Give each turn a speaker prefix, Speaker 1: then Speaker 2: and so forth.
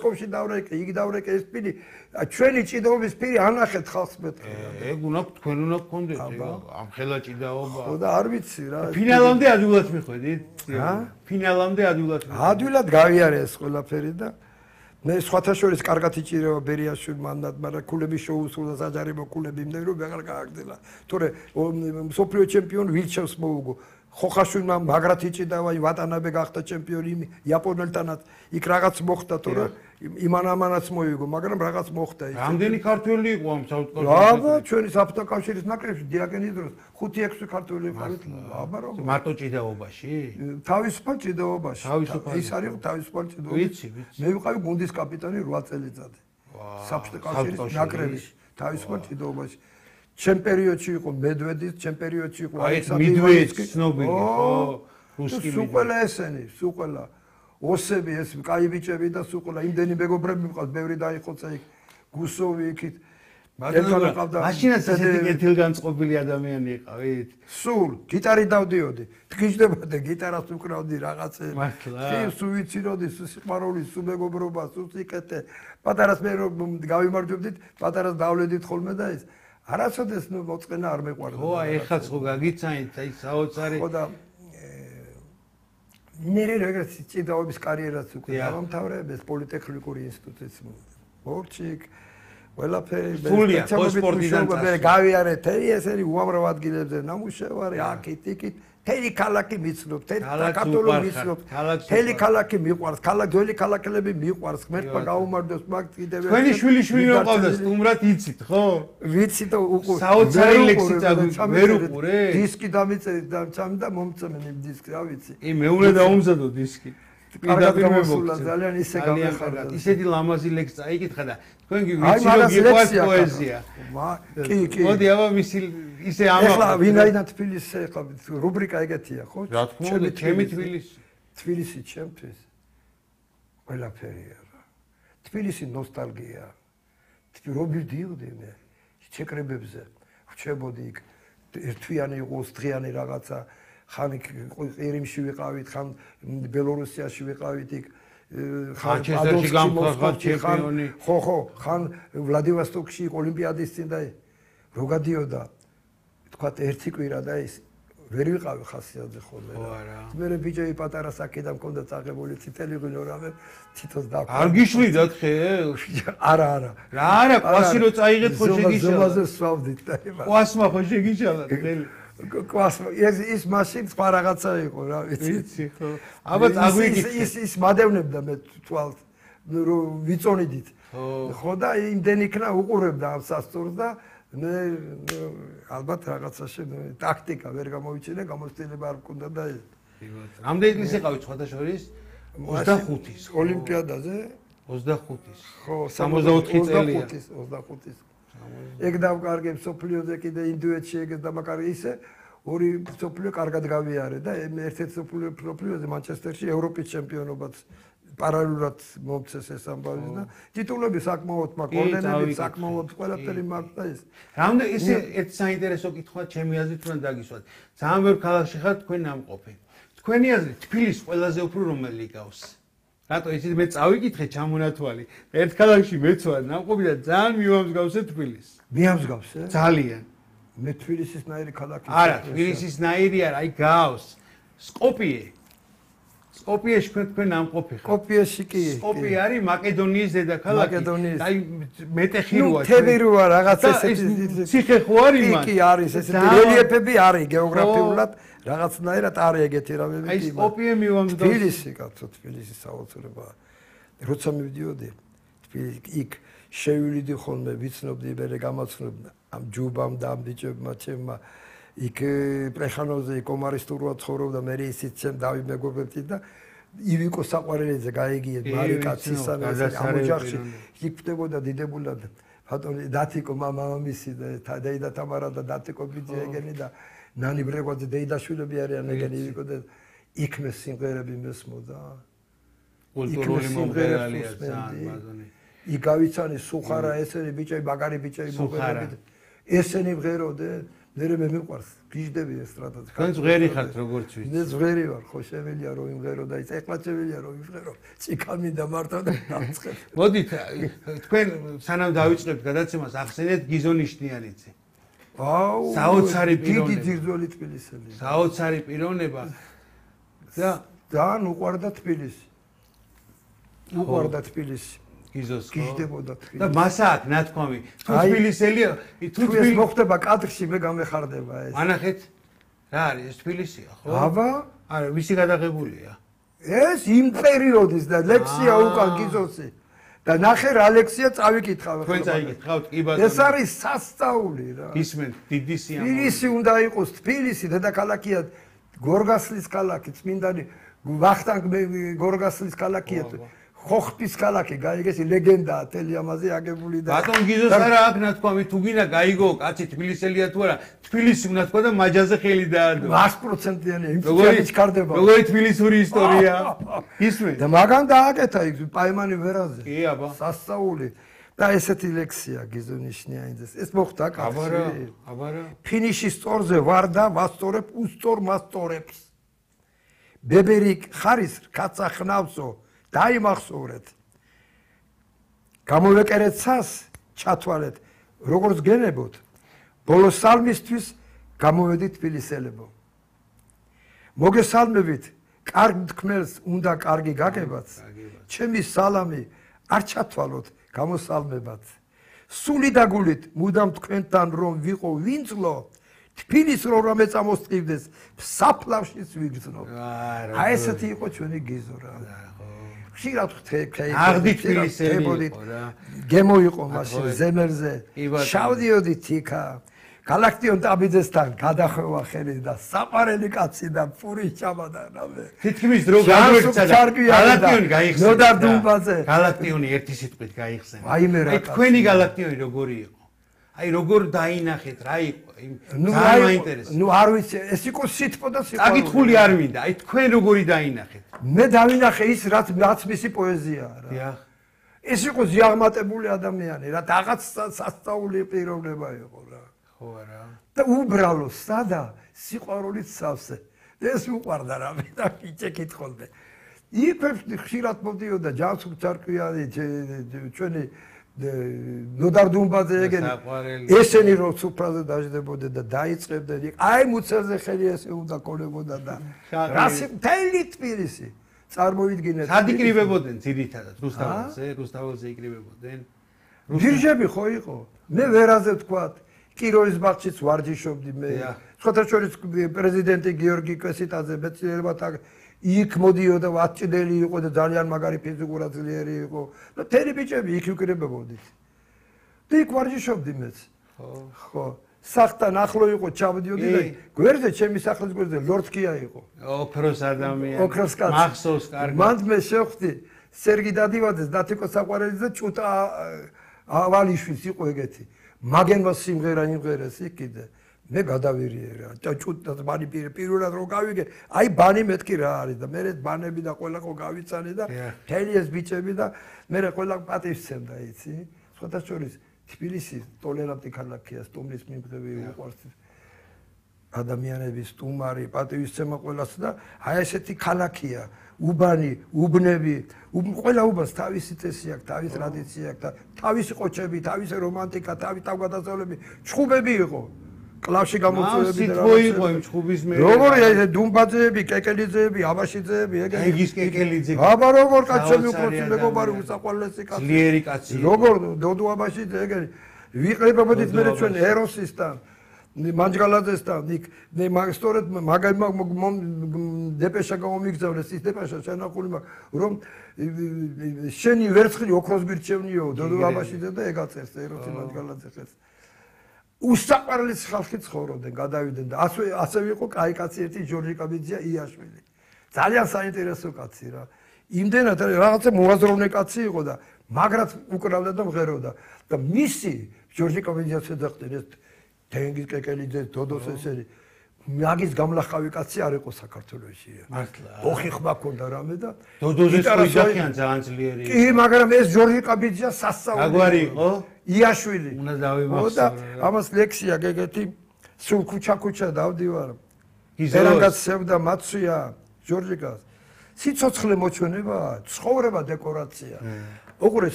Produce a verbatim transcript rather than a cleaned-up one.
Speaker 1: მოსკოვში დავრეკე, იქ დავრეკე ეს პირი, ჩვენი ჭიდაობის პირი ანახეთ ხალხს მეთქე.
Speaker 2: ეგ უნდა თქვენ უნდა გქონდეთ ეგ ამ ხელა ჭიდაობა.
Speaker 1: ხო და არ ვიცი რა.
Speaker 2: ფინალამდე ადვილად მიხვედით? ფინალამდე ადვილად.
Speaker 1: ადვილად გავიარე ეს ყველაფერი და მე სხვათა შორის კარგად იჭირება ბერიაშვილ მანდატ, მაგრამ ქულების შეუსრულდა საჯარიმო ქულები იმდენი რომ აღარ გააგრძელა. თორე მსოფლიო ჩემპიონი ვილჩევს მოუგო. ხოხაშვილმა მაგრად იჭიდავა, ვატანაბე გახდა ჩემპიონი იაპონელთანაც. იქ რაღაც მოხდა, თორე იმან-ამანაც მოიგო, მაგრამ რაღაც მოხდა ის.
Speaker 2: რამდენი ქართველი იყო ამ საუთკავშირში?
Speaker 1: აბა, ჩვენი საფრთხე კავშირის ნაკრებში დიაგენის დროს ხუთი ექვსი ქართველი იყავით. აბა რომ
Speaker 2: მარტო ჭიდაობაში?
Speaker 1: თავისუფალ ჭიდაობაში.
Speaker 2: თავისუფალ.
Speaker 1: ის არის თავისუფალ ჭიდაობაში.
Speaker 2: ვიცი, ვიცი.
Speaker 1: მე ვიყავი გუნდის კაპიტანი რვა წელიწადი. საფრთხე კავშირის ნაკრებში, თავისუფალ ჭიდაობაში. ჩემ პერიოდში იყო მედვედის, ჩემ პერიოდში იყო
Speaker 2: ალექსანდრე მედვედსკი, ცნობილი, ხო? რუსკი
Speaker 1: სულ ყველა ესენი, სულ ყველა. ოსები ეს კაი ბიჭები და სულ ყველა იმდენი მეგობრები მყავს, ბევრი დაიხოცა იქ, გუსოვი იქით.
Speaker 2: მაშინაც ესეთი კეთილგანწყობილი ადამიანი იყავით?
Speaker 1: სულ, გიტარი დავდიოდი. თქიჯდებოდა გიტარას უკრავდი რაღაცე. კი, სულ ვიციროდი, სულ სიყვარული, სულ მეგობრობა, სულ სიკეთე. პატარას მე რომ გავიმარჯვებდით, პატარას დავლედით ხოლმე და ეს არასოდეს ნუ მოწყენა არ მეყვარდა.
Speaker 2: ხო, ეხაც ხო გაგიცანით, აი საოცარი.
Speaker 1: ხო და ნერე როგორც ჭიდაობის კარიერაც უკვე დავამთავრებ, ეს პოლიტექნიკური ინსტიტუტის ბორჩიკ, ყველაფერი
Speaker 2: სულია, სპორტიდან
Speaker 1: წასული. გავიარე თერი ესენი უამრავ ადგილებზე ნამუშევარი, აქეთ, იქით. თელი ქალაქი მიცნობ, თელი კათოლიკე მიცნობ, თელი ქალაქი მიყვარს, ქალაქ ძველი ქალაქელები მიყვარს, ღმერთმა გაუმარჯოს მაგ კიდევ
Speaker 2: ერთი. თქვენი შვილი-შვილი რომ ყავდა, სტუმრად იცით, ხო?
Speaker 1: ვიცი და უკვე
Speaker 2: საოცარი ლექსი ვერ უყურე?
Speaker 1: დისკი დამიწერეთ და ჩამი და მომწმენ იმ დისკს, რა ვიცი.
Speaker 2: ი მეუნე დაუმზადო დისკი.
Speaker 1: კარგად გამოსულა, ძალიან ისე გამეხარდა.
Speaker 2: ისეთი ლამაზი ლექსი წაიკითხა და თქვენ კი ვიცი რომ გიყვარს პოეზია.
Speaker 1: კი, კი.
Speaker 2: მოდი აბა მისი ისე ამაყ.
Speaker 1: ეხლა ვინაიდან თბილისზე ეხლა რუბრიკა ეგეთია, ხო?
Speaker 2: რა თქმა უნდა, ჩემი თბილისი.
Speaker 1: თბილისი ჩემთვის ყველაფერია რა. თბილისი ნოსტალგია. რომ მივდიოდი მე ჩეკრებებზე, ვრჩებოდი იქ ერთვიანი იყო, დღიანი რაღაცა ხან ყირიმში ვიყავით, ხან ბელორუსიაში ვიყავით იქ,
Speaker 2: ხან ჩესტერში გამხარდა ჩემპიონი.
Speaker 1: ხო, ხო, ხან ვლადივოსტოკში ოლიმპიადის წინ და რო გადიოდა თქვა ერთი კვირა და ის ვერ ვიყავი ხასიათზე ხოლმე რა. მე ბიჭები პატარა საკიდან მქონდა წაღებული წითელი ღვინო რამე თითოს დაკვა.
Speaker 2: არ გიშლიდათ ხე?
Speaker 1: არა, არა.
Speaker 2: რა არა, ყვასი რო წაიღეთ ხო შეგიშალა.
Speaker 1: ზომაზე სვავდით და იმას.
Speaker 2: ყვასმა ხო შეგიშალა ხელი.
Speaker 1: ყვასმა ეს ის მაშინ სხვა რაღაცა იყო რა ვიცი.
Speaker 2: ვიცი ხო. აბა წაგვიგით.
Speaker 1: ის ის მადევნებდა მე თვალს რო ვიწონიდით. ხო და იმდენ იქნა უყურებდა ამ სასწორს და მე ალბათ რაღაცაში ტაქტიკა ვერ გამოვიჩინე, გამოცდილება არ მქონდა და ეს.
Speaker 2: რამდენი ის იყავით სხვათა შორის? ოცდახუთის.
Speaker 1: ოლიმპიადაზე?
Speaker 2: ოცდახუთის.
Speaker 1: ხო,
Speaker 2: სამოცდაოთხი წელია.
Speaker 1: ოცდახუთის. ეგ დავკარგე სოფლიოზე კიდე ინდუეთში ეგ დამაკარგე ისე ორი სოფლიო კარგად გავიარე და ერთ-ერთ სოფლიო სოფლიოზე მანჩესტერში ევროპის ჩემპიონობაც პარალელურად მომწეს ეს ამბავი და ტიტულები საკმაოდ მაქვს, ორდენები საკმაოდ ყველაფერი მაქვს და ეს.
Speaker 2: რამდენი ისე ერთ საინტერესო კითხვა ჩემი აზრით უნდა დაგისვათ. ძალიან ბევრ ქალაქში ხართ თქვენ ნამყოფი. თქვენი აზრით თბილისს ყველაზე უფრო რომელი გავს? რატო იცით მე წავიკითხე ჩამონათვალი. ერთ ქალაქში მეც ვარ ნამყოფი და ძალიან მივამსგავსე თბილისს.
Speaker 1: მიამსგავსე?
Speaker 2: ძალიან.
Speaker 1: მე თბილისისნაირი ქალაქი.
Speaker 2: არა, თბილისისნაირი არა, აი გავს. სკოპიე. სკოპიეში თქვენ ნამყოფი ხართ.
Speaker 1: სკოპიეში კი.
Speaker 2: სკოპიე არის მაკედონიის დედაქალაქი. აი მეტეხი როა.
Speaker 1: ნუ თები როა რაღაც ესეთი
Speaker 2: ციხე ხო არის მან?
Speaker 1: კი, არის ესეთი რელიეფები არის გეოგრაფიულად. რაღაცნაირად არის ეგეთი რამები.
Speaker 2: აი სკოპიე მივამსგავსე.
Speaker 1: თბილისი კაცო, თბილისი საოცრებაა. როცა მივდიოდი თბილისი იქ შევილიდი ხოლმე ვიცნობდი მე გამაცნობ ამ ჯუბამ და ამ ბიჭებმა ჩემმა იქ პრეხანოზე კომარისტურა ცხოვრობდა მე ისიც ჩემ დავი მეგობრებთან და ივიკო საყვარელიძე გაიგიეთ მარიკა ცისანეს ამ ოჯახში იქ ხდებოდა დიდებულად ბატონი დათიკო მამამისი და დეიდა თამარა და დათიკო ბიძი ეგენი და ნანი ბრეგვაძე დეიდაშვილები არიან ეგენი ივიკო და იქ მე სიმღერები მესმოდა
Speaker 2: კულტურული მომღერალია ძალიან ბაზონი
Speaker 1: იქ გავიცანი სუხარა ესენი ბიჭები მაგარი ბიჭები მოგებდით ესენი მღეროდნენ მერე მე მიყვარს გიждები ესტრადაზე.
Speaker 2: თქვენ ზღერი ხართ როგორც ვიცი.
Speaker 1: მე ზღერი ვარ, ხო შემელია რომ იმღერო და ის ეხლა შემელია რომ იმღერო. წიკამი და მარტო და დამწყებ.
Speaker 2: მოდით თქვენ სანამ დავიწყებთ გადაცემას ახსენეთ გიზონიშნიანიცი.
Speaker 1: აუ,
Speaker 2: საოცარი პიროვნება.
Speaker 1: დიდი ძირძველი თბილისელი.
Speaker 2: საოცარი პიროვნება და
Speaker 1: ძალიან უყვარდა თბილისი. უყვარდა თბილისი.
Speaker 2: გიზოს
Speaker 1: გიждდებოდა თბილისი.
Speaker 2: და მასა აქვს ნათქვამი. თუ თბილისელია, თუ
Speaker 1: თბილისი მოხდება კადრში მე გამეხარდება ეს.
Speaker 2: ანახეთ რა არის ეს თბილისია, ხო?
Speaker 1: აბა,
Speaker 2: არა, ვისი გადაღებულია?
Speaker 1: ეს იმ პერიოდის და ლექსია უკან გიზოსი. და ნახე რა ლექსია წავიკითხავ.
Speaker 2: თქვენ წაიკითხავთ, კი ბატონო.
Speaker 1: ეს არის სასწაული რა.
Speaker 2: ისმენთ, დიდი სიამოვნებაა.
Speaker 1: თბილისი უნდა იყოს თბილისი, დედაქალაქია გორგასლის ქალაქი, წმინდანი ვახტანგ გორგასლის ქალაქია. ხოხტის ქალაქი, გაიგეს ლეგენდაა, თელი ამაზე აგებული და
Speaker 2: ბატონ გიზოს არა აქ ნათქვამი, თუ გინდა გაიგო, კაცი თბილისელია თუ არა, თბილისი უნდა თქვა და მაჯაზე ხელი დაადო.
Speaker 1: sto პროცენტიანია, იმ წუთში ჩქარდება.
Speaker 2: როგორი თბილისური ისტორია. ისმენ.
Speaker 1: და მაგან დააკეთა იქ პაიმანი ვერაზე.
Speaker 2: კი, აბა.
Speaker 1: სასწაული. და ესეთი ლექსია გიზონიშნიანიძეს. ეს მოხდა კაცი.
Speaker 2: აბარა, აბარა.
Speaker 1: ფინიშის სწორზე ვარ და ვასწორებ უსწორ მასწორებს. ბებერი ხარის კაცა ხნავსო დაიმახსოვრეთ. გამოვეკერეთ ცას, ჩათვალეთ, როგორც გენებოთ. ბოლო სალმისთვის გამოვედით თბილისელებო. მოგესალმებით, კარგ თქმელს უნდა კარგი გაგებაც. ჩემი სალამი არ ჩათვალოთ, გამოსალმებათ. სული დაგულით, მუდამ თქვენთან რომ ვიყო ვინწლო, თბილის რო რამე წამოსწივდეს, საფლავშიც ვიგრძნო. აი ესეთი იყო ჩვენი გიზო რა. ხშირად ხთე
Speaker 2: აღდი თბილისელი იყო რა.
Speaker 1: გემო იყო მაშინ ზემერზე. შავდიოდი თიკა. გალაქტიონ ტაბიძესთან გადახვევა ხელი და საყარელი კაცი და პური ჩამადა რამე.
Speaker 2: თითქმის დრო გაგვერცა და გალაქტიონი გაიხსნა.
Speaker 1: ნოდარ დუმბაძე.
Speaker 2: გალაქტიონი ერთი სიტყვით გაიხსნა.
Speaker 1: აი მე რა.
Speaker 2: აი თქვენი გალაქტიონი როგორი იყო? აი როგორ დაინახეთ რა იყო?
Speaker 1: ნუ
Speaker 2: ძალიან მაინტერესებს.
Speaker 1: ნუ არ ვიცი, ეს იყო სიტყვა და სიტყვა.
Speaker 2: დაკითხული არ მინდა. აი თქვენ როგორი დაინახეთ?
Speaker 1: მე დავინახე ის რაც რაც მისი პოეზიაა რა.
Speaker 2: დიახ.
Speaker 1: ეს იყო ზიაღმატებული ადამიანი რა, რაღაც სასწაული პიროვნება იყო რა.
Speaker 2: ხო არა.
Speaker 1: და უბრალო სადა სიყვარულით სავსე. ეს უყვარდა რა მე და იჭე კითხულდე. იფებს ხშირად მოდიოდა ჯანსუღ წარკვიანი ჩვენი ნოდარ დუმბაძე ეგენი ესენი რო სუფრაზე დაждდებოდნენ და დაიწყებდნენ აი მუცელზე ხელი ესე უნდა კონებოდა და რასი მთელი თბილისი წარმოიდგინეთ.
Speaker 2: სად იკრიბებოდნენ ძირითადად რუსთაველზე, რუსთაველზე იკრიბებოდნენ.
Speaker 1: ბირჟები ხო იყო? მე ვერაზე ვთქვათ, კიროვის ბაღშიც ვარჯიშობდი მე. სხვათა შორის პრეზიდენტი გიორგი კვესიტაძე მეცნიერებათა იქ მოდიოდა ვაჭდელი იყო და ძალიან მაგარი ფიზიკურად ძლიერი იყო. და თერი ბიჭები იქ ვიკრიბებოდით. და იქ ვარჯიშობდი მეც. ხო. ხო. სახთან ახლო იყო ჩავდიოდი და გვერდზე ჩემი სახლის გვერდზე ლორდკია იყო.
Speaker 2: ოქროს ადამიანი.
Speaker 1: ოქროს კაცი.
Speaker 2: მახსოვს კარგად.
Speaker 1: მანდ მე შევხვდი სერგი დადივაძეს, დათიკო საყვარელიძე და ჭუტა ავალიშვილს იყო ეგეთი. მაგენმა სიმღერა იმღერეს იქ კიდე. მე გადავირიე რა. ჭუტა ბანი პირველად რო გავიგე, აი ბანი მეთქი რა არის და მე ბანები და ყველა ხო გავიცანი და მთელი ეს ბიჭები და მე ყველა პატივს ცემდა იცი. სხვათა შორის თბილისი ტოლერანტი ქალაქია, სტუმრის მიმღები უყვარს ადამიანების სტუმარი, პატივისცემა ყველას და აი ესეთი ქალაქია, უბანი, უბნები, ყველა უბანს თავისი წესი აქვს, თავის ტრადიცია აქვს და თავისი ყოჩები, თავისი რომანტიკა, თავის თავგადასავლები, ჩხუბები იყო. კლავში გამოწვევები
Speaker 2: და რა იყო იმ ჩხუბის მე.
Speaker 1: როგორია ეს დუმბაძეები, კეკელიძეები, აბაშიძეები, ეგ
Speaker 2: ეგის კეკელიძე.
Speaker 1: აბა როგორ კაცები უყურს მეგობარი უსაყვარლესი კაცი.
Speaker 2: ძლიერი კაცი.
Speaker 1: როგორ დოდო აბაშიძე ეგენი ვიყრებოდით მე ჩვენ ეროსისთან, მანჯგალაძესთან, იქ მე მაგ სწორედ მაგ დეპეშა გამომიგზავნეს ის დეპეშა შენახული მაგ რომ შენი ვერცხლი ოქროს გირჩევნიო დოდო აბაშიძე და ეგ აწერს ეროსი მანჯგალაძე ხელს. უსაყვარლეს ხალხი ცხოვრობდნენ, გადავიდნენ და ასე ასე იყო კაი კაცი ერთი ჯორჯი კაბიძია იაშვილი. ძალიან საინტერესო კაცი რა. იმდენად რაღაცა მოაზროვნე კაცი იყო და მაგრად უკრავდა და მღეროდა და მისი ჯორჯი კაბიძიას ეძახდნენ ეს თენგიზ კეკელიძე, დოდოს ესენი მაგის გამლახავი კაცი არ იყო საქართველოში.
Speaker 2: მართლა.
Speaker 1: ოხი ხმა ქონდა რამე და
Speaker 2: დოდოზე შეიძახიან ძალიან ძლიერი.
Speaker 1: კი, მაგრამ ეს ჯორჯი კაბიძია სასწაული.
Speaker 2: აგვარი იყო?
Speaker 1: იაშვილი.
Speaker 2: უნდა დავიმახსოვრე.
Speaker 1: ამას ლექსია გეგეთი სულ ქუჩა-ქუჩა დავდივარ.
Speaker 2: გიზოს.
Speaker 1: ერანგაც სევდა მაცვია ჯორჯიკას. სიცოცხლე მოჩვენება, ცხოვრება დეკორაცია. უყურე